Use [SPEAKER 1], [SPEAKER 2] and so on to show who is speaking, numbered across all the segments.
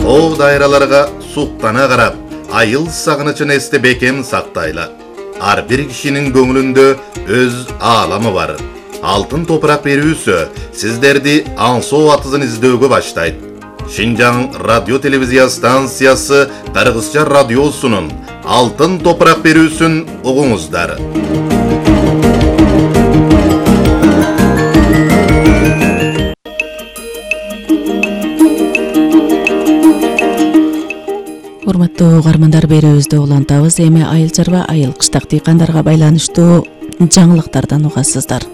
[SPEAKER 1] тоо дайраларга суктана карап, айыл сагынычын эсте бекем сактайлы. Ар бир кишинин көңүлүндө өз ааламы бар. Алтын топурак берүүсү сиздерди аңсоо атызын издөөгө баштайт. Шинжаң радио телевизия станциясы Кыргызча радиосунун Алтын топурак берүүсүн угуңуздар.
[SPEAKER 2] Урматтуу угармандар, берүүбүздү улантабыз. Эми айыл чарба, айыл кыштак дыйкандарга байланыштуу жаңылыктардан угасыздар.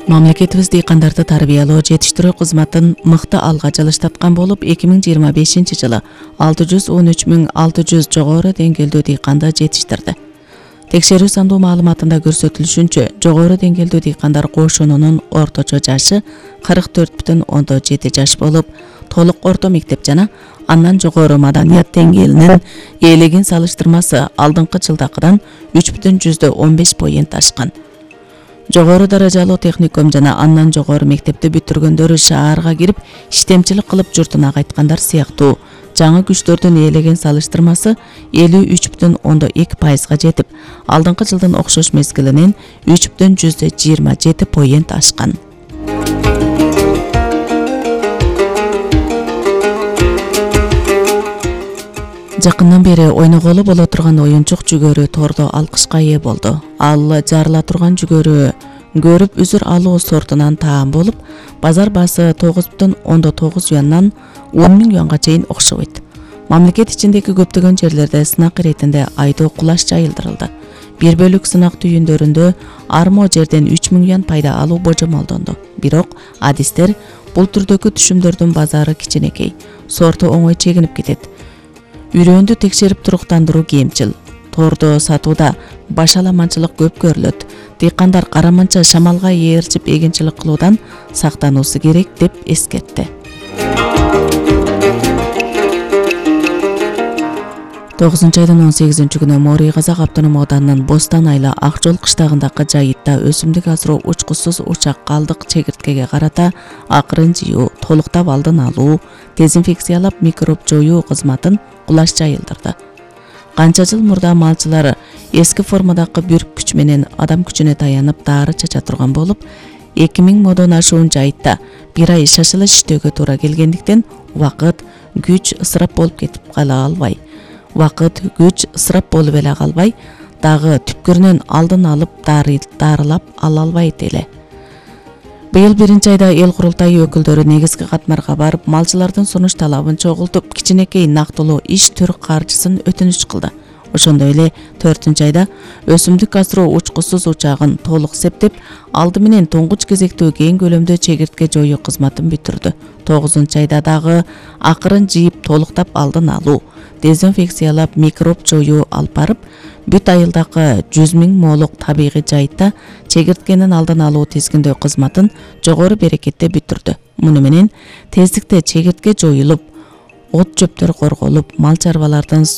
[SPEAKER 2] Мамлекетибиз дыйкандарды тарбиялоо, жетиштирүү кызматын мыкты алга жылыштаткан болуп, 2025 жылы 613.600 жогору деңгээлдүү дыйканды жетиштирди. Текшерүү сандуу маалыматында көрсөтүлүшүнчө, жогору деңгээлдүү дыйкандар кошунунун орточо жашы 44,7 жаш болуп, толук орто мектеп жана андан жогору маданият деңгээлинин ээлеген салыштырмасы алдыңкы жылдакыдан 3,15 поинт ашкан. Жогору даражалуу техникум жана андан жогору мектепти бүтүргөндөр шаарга кирип, иштемчилик кылып журтуна кайткандар сыяктуу жаңы күчтөрдүн ээлеген салыштырмасы 53,2%га жетип, алдыңкы жылдын окшош мезгилинен 3,27 поинт ашкан. Жакындан бери ойноголу боло турган оюнчук жүгөрү тордо алкышка ээ болду. Ал жарыла турган жүгөрү көрүп үзүр алуу сортунан таам болуп, базар баасы 9,9 юандан 10.000 юанга чейин окшобойт. Мамлекет ичиндеги көптөгөн жерлерде сынак иретинде айдоо кулаш жайылдырылды. Бир бөлүк сынак түйүндөрүндө армо жерден 3.000 юан пайда алуу божомолдонду. Бирок адистер бул түрдөгү түшүмдөрдүн базары кичинекей, сорту оңой чегинип кетет. Үрөөндү текшерип туруктандыруу кемчил. Тордо сатууда башаламанчылык көп көрүлөт. Дыйкандар караманча шамалга ээрчип эгинчилик кылуудан сактануусу керек деп эскертти. 9-айдын 18-күнү Морий Казак автоном ауданынын Бостан айла Акжол кыштагындагы жайытта өсүмдүк асыроо учкусуз учак калдык чегирткеге карата акырын жыюу, толуктап алдын алуу, дезинфекциялап микроб жоюу кызматын кулаш жайылдырды. Канча жыл мурда малчылар эски формадагы бүрк күч менен адам күчүнө таянып дары чача турган болуп, 2000 модон ашуун жайытта бир ай шашылыш иштөөгө туура келгендиктен убакыт, күч ысырап болуп кетип кала албай. Убакыт, күч ысырап болуп эле калбай, дагы түпкүрүнөн алдын алып дарылап ала албайт эле. Быйыл 1-айда эл курултайы өкүлдөрү негизги катмарга барып, малчылардын сунуш талабын чогултуп, кичинекей нактылуу иш түр каржысын өтүнүч кылды. Ошондой эле 4-айда өсүмдүк асыроо учкусуз учагын толук септеп, алды менен туңгуч кезектүү кең көлөмдө чегиртке жоюу кызматын бүтүрдү. 9-айда дагы акырын жыйып толуктап алдын алуу, дезинфекциялап микроб жоюу алып барып, бүт айылдагы 100.000 молук табигый жайытта чегирткенин алдын алуу тизгиндөө кызматын жогору берекетте бүтүрдү. Муну менен тездикте чегиртке жоюлуп, от жөптөр корголуп, мал чарбалардын